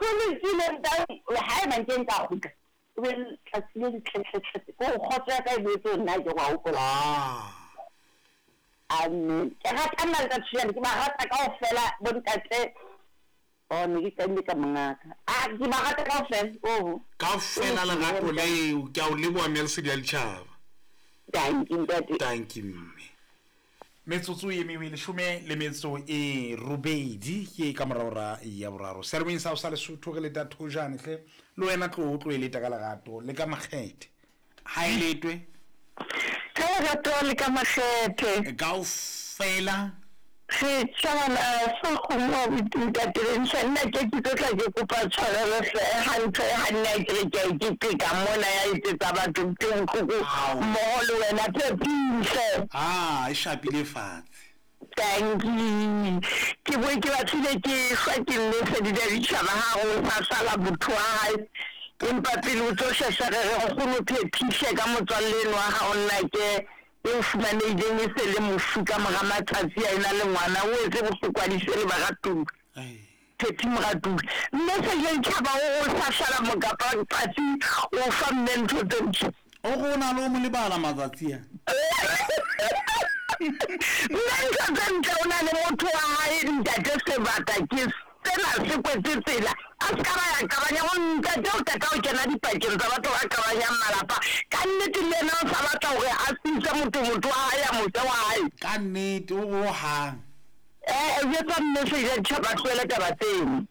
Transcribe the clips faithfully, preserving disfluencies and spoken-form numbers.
Ho lokile ntate, haeba nke nka kgutla, o be letsatsi le letletletse. Ko kgotso ya ka e boetse ho nna ke wa hopola. Ah. Amen. Ke rata nna le Thuyane, ke ba rata kaofela bo ntate. Oh, ne ke qadile ka mongaka. Ah, ke ba rata kaofela. Oho. Kaofela lerato leo, ke a o leboha mme Lesedi ya Ditjhaba. Thank you, ntate. Thank you, mme. Metsotso e mengwe leshome le metso e robedi ke ka morao ra ya boraro. Serweng sa sa Lesotho re leta thojane hle. Le wena tlo o tlo e leta ka lerato le ka makgethe. Ha e letwe. Ka lerato le ka makgethe. Kaofela. Re tjhabana sa kgomo ntate Bentsha, nna ke ke tlo tla ke kopa tshwarelo hle hantle ha nna ke re ke a iketeka mona ya etsetsa batho ntho e bohloko Ao. mmoho le wena Phephise. Ah, e shapile fatshe. Thank you. Ke boe ke batlile ke hlwa ke Lesedi la Ditjhaba ha o sa sala motho wa hae. Empa pele o tlo shesha re re nkgono Phephise ka motswalle eno wa hao nna ke e fumanehileng e se le mofu ka mora matsatsi a ena le ngwana o etse bohloko a dise le baratuwa. Phephi moratuwa. Mme se le tjhaba o o sa sala mokapa tsatsi o fa mme ntho tse ntle. O go na le o mo lebala matsatsi a. Mme ntho tse ntle o na le motho wa hae ntate Sebata ke sena se kwetse tsela. A se ka ba ya qabanya ho ntate o qeta ho kena dipakeng tsa batho ba qabanyang malapa. Ka nnete le yena o sa batla hore a sise motho motho wa hae a mose wa hae. Ka nnete o go hang. Eh, jwetsa mme Seja Ditjhaba tlohele taba tseno.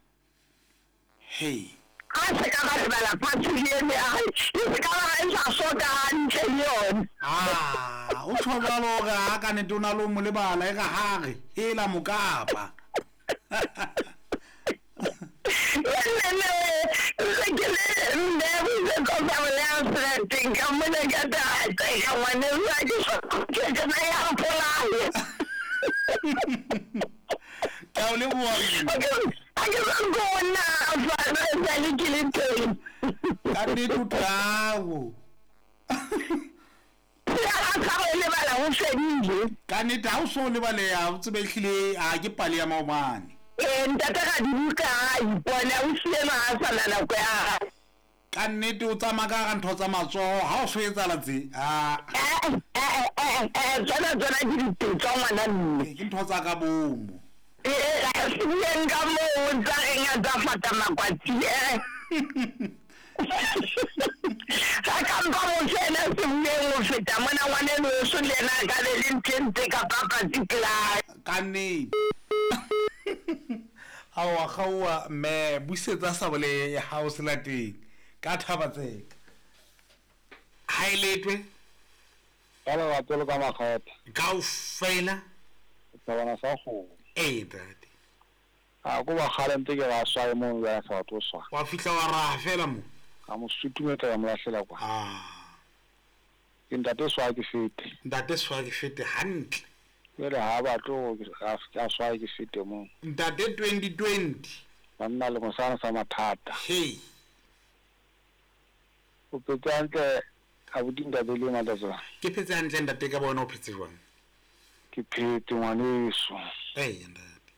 Hey. A se ka ba lebala fatshe le ene a hae, e se ka ba ha e sa soka hantle le yona. Ah, o tjho jwalo hore ha ka nnete o na le ho mo lebala e ka hare, hela mokapa. Nne ke le mme o itse tsa le a serateng ka mona ka tate ka ngwaneso ha ke sa ke ke na ya mpolaya. Ke a o leboha mme. Ha ke sa bona fa sa le ke le teng. Ka nnete o thabo. Ya sa o lebala ho fedile. Ka nnete ha o so lebaleha o tsebe ehlile ha ke pale ya maobane. Eh, ntate Radibuka ha ipona o siile ha sa na nako ya hae. Ka nnete o tsamaya ka hara ntho tsa matsoho ha o so etsahala tse. Ah. Eh, eh, eh, eh, tsona tsona ke dipetso ngwana mme. Ke ntho tsa ka bomo. Eh, se bueng ka moo tsa reng a tsa fata makwatsi, eh. Ka kampa motho ena se bueng ho feta mona ngwaneno weso le yena a ka be le ntho e ntse ka papatsi pela hae. Ka nnete. Aowa kgaowa mme busetsa sabole ya hao selateng ka thaba tseka. Ha e letwe. Ka lerato le ka makgethe. Kaofela. Thabana sa kgomo. Ee ntate. A ko ba kgale ntse ke ba swaye mono jwale a sa batle ho swaya. Wa fihla wa raha fela mo. Ka mo sutumetsa ka mo lahlela kwa. Ah. Ke ntate swaya ke fete. Ntate swaya ke fete hantle. Jwale ha batle hore ke a swaya ke fete moo. Ntate twenty twenty. Banna le mosana sa mathata. Hey. O phetse hantle abuti ntate le matsatsi. Ke phetse hantle ntate ka bona o phetse jwang? Ke phetse ngwaneso. Ee ntate.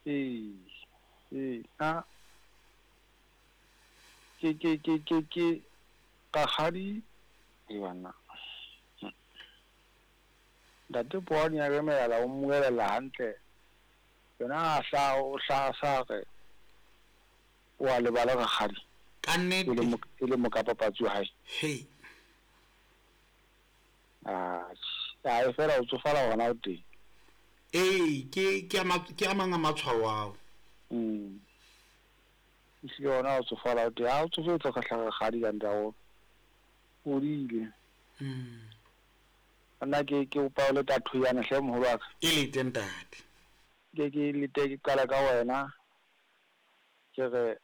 Ee. Ee, a ke ke ke ke ke rakgadi e bana. Ntate Poane ya remela o mmuelela hantle. Yena a hla o hla sa re o a lebala rakgadi. Ka nnete. E le mo, e le mokapapatsi wa hae. Hey. Ah, a e fela o tsofala hona o teng. Ee, ke ke a ke a mang a matshwao ao. Mm. Ehlile hona o tsofala o teng. Ha o tsofetse ka hlaha rakgadi ka ntle o hodile. Mm. Nna ke ke opa le tatho yana hle moholo wa ka. E lete ntate. Ke ke lete ke qala ka wena. Ke re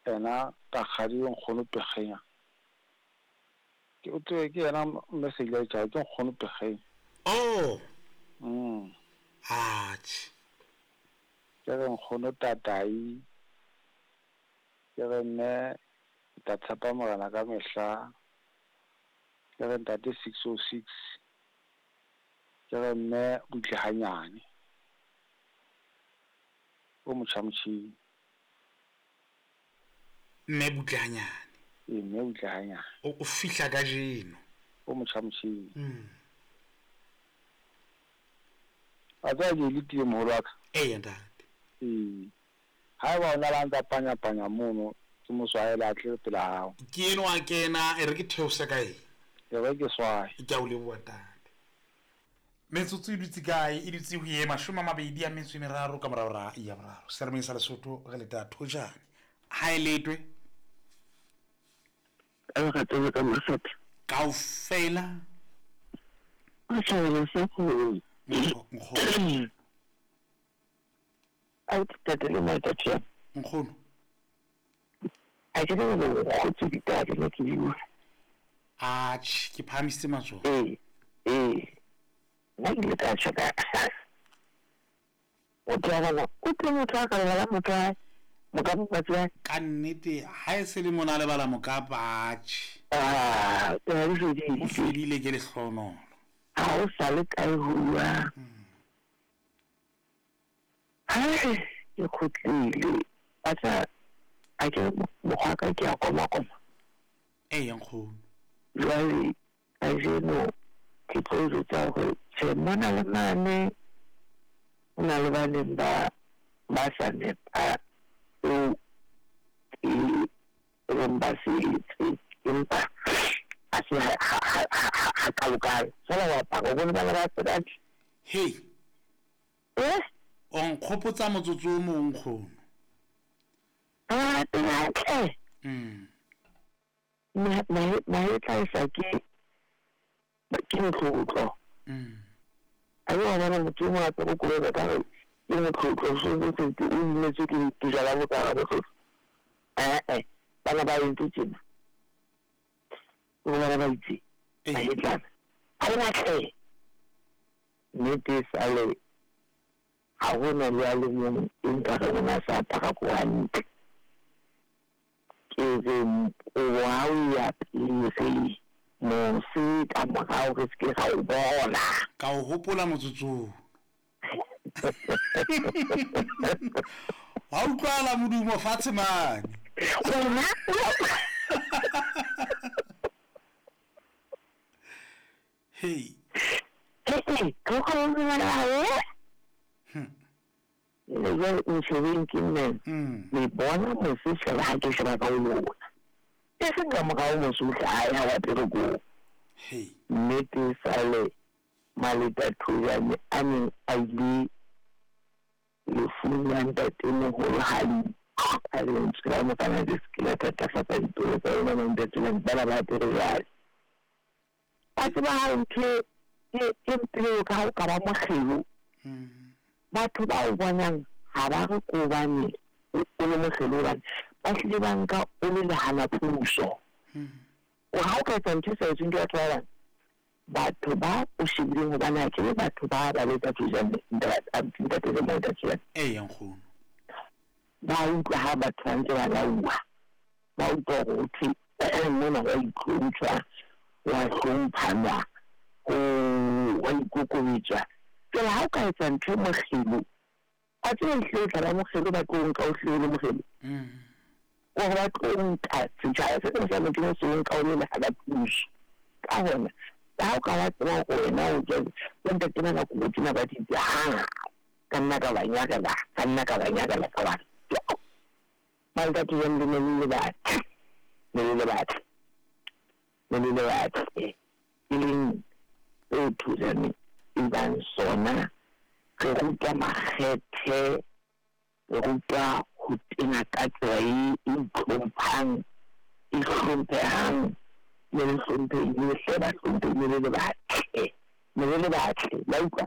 ena rakgadi o nkgono Pekgenya. Ke o tswe ke yena message ya tjha ke nkgono Pekgenya. Oh. Mm. Atjhe. Ke re nkgono Tatai. Ke re mme nka tshepa Morena ka mehla. Ke re ntate six oh six. Ke re mme butle hanyane. O motjha motjhini. Mme butle hanyane. Ee, mme butle hanyane. O o fihla kajeno. O motjha motjheng. Mm. Wa tseba ke letile moholo wa ka. Eya ntate. Ee. Haeba o na le a ntsa panya-panya mono, ke mo swahele a tle pela hao. Ke enwa a kena, e re ke theose ka eng? E re ke swaye. Ke a o leboha ntate. Metsotso e dutse kae? E dutse ho ye mashome a mabedi a metso e meraro ka mora hora ya boraro. Selemeng sa Lesotho re leta thojane. Ha e letwe. Ka lerato ka makgethe. Kaofela. O thabela sa kgolo. Nkgono. A ke tate le matate. Nkgono. A ke le go kgotse ditaba le ke bua. Atjhe, ke phahamisitse matsoho. Ee, ee. Nna ke ile ka tjho ka motho wa bona o tlo motho a ka lebala motho wa mokapa patsi wa Ka nnete ha e se le mona a lebala mokapa atjhe. Ah, taba di O fedile. fedile ke lehlohonolo. Ha o sa le kae ho bua. Hai, ke kgutlile. Wa tseba, ha ke mokgwa ka ke a koma-koma. Eya nkgono. Jwale kajeno ke tlo jwetsa hore tjhe mona le mane ho na le ba neng ba ba sa nepa seo ke reng ba se etse, empa ha se ha ha ha ha kalokalo. Feela wa paka o bone bana ba tsebang. Hei. Eh? O nkgopotsa motsotso o mong nkgono. Ah, hantle. Mm. Mahetla e sa ke ke motlotlo. Mm. A ke wa bona motho o mong a apere koloi ka re ke motlotlo so se se o imetswe ke bojwala bo ka botlotlo. Eh bana ba entse tjena. O bana ba itse. Mahetlana. Ha re batle. Nnete sale ha hona le a le mong e nka re ona sa apara ko hantle. Ke re o ha o ya pele re mose ka morao re se ke ra o bona. Ka o hopola motsotsong. Wa utlwala modumo fatshe mane. Wena? Hey. Hey, ke go bua le Hmm. Le jwale o shebeng ke nne. Mm. Le bona mose fela ha ke sheba ka o lona. E seng ka morao mose o hlaha ha wa pele ko. Hey. Nnete sale Maleta Thojane a neng a ile lefung la ntatemoholo ha a lentswe la mokana le se ke la thatafatsa dipelo tsa lona bo ntate bana ba apere jwale. Wa tseba ha ntho e e mpe ka ha o ka ba mokgelo. Mm. Batho ba o bonang ha ba re ko hobane o le mokgelo hobane ba hlile ba nka o le lehana puso. Mm. O ha o ka etsa ntho e sa etsweng ke batho ba bang, batho ba o shebileng hobane ha ke be batho ba ba letsa Thojane, ntate le Maleta Thojane. Eya nkgono. Ba utlwa ha batho ba ntse ba lauwa. Ba utlwa hore ho thwe mona wa itlhompha, wa hlomphanwa, o wa ikokobetswa. Jwale ha o ka etsa ntho e mokgelo, wa tseba ehlile o tla ba mokgelo ba tlo nka o hlile o le mokgelo. Mm. Hore ba tlo nka setjhaba se seng sa Modimo se o nka o le lehana puso. Ka hona, ha o ka wa tseba hore wena o jwale, bo ntate ba nako tsena ba di itse, ha, ka nna ka ba nyakela, ka nna ka ba nyakela ka ba. Maleta Thojane le ne le le batle, ne le le batle, ne le le batle. E leng eo Thojane e bang sona, re rutwa makgethe, re rutwa ho tena ka tsela e itlhomphang, e hlomphehang, le le hlomphehile hle ba hlomphehile le le batle, ne le le batle, la utlwa?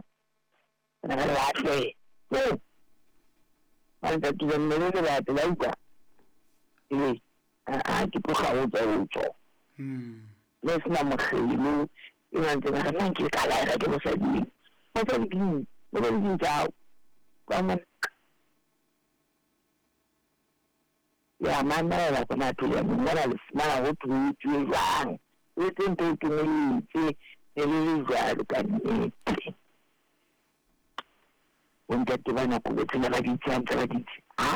Ne le batle. Oh! Maleta Thojane ne le le batle, la utlwa? Ee, a ke tloga o tswa o tswa. Mm. Le sena mokgelo, e ba ntse ba re nna nke ka laela ke mosading. Mosadi ke eng? Mosadi ke eng tsa hao? Ka mona. Le a mamela tsona Thojane, mona le fumana ho thwe ho etsuwe jwang. O etse ntho e kenelletse, ne le le jwalo ka nnete. Bo ntate ba nako tsena ba di itse hantle ba di itse. Ah,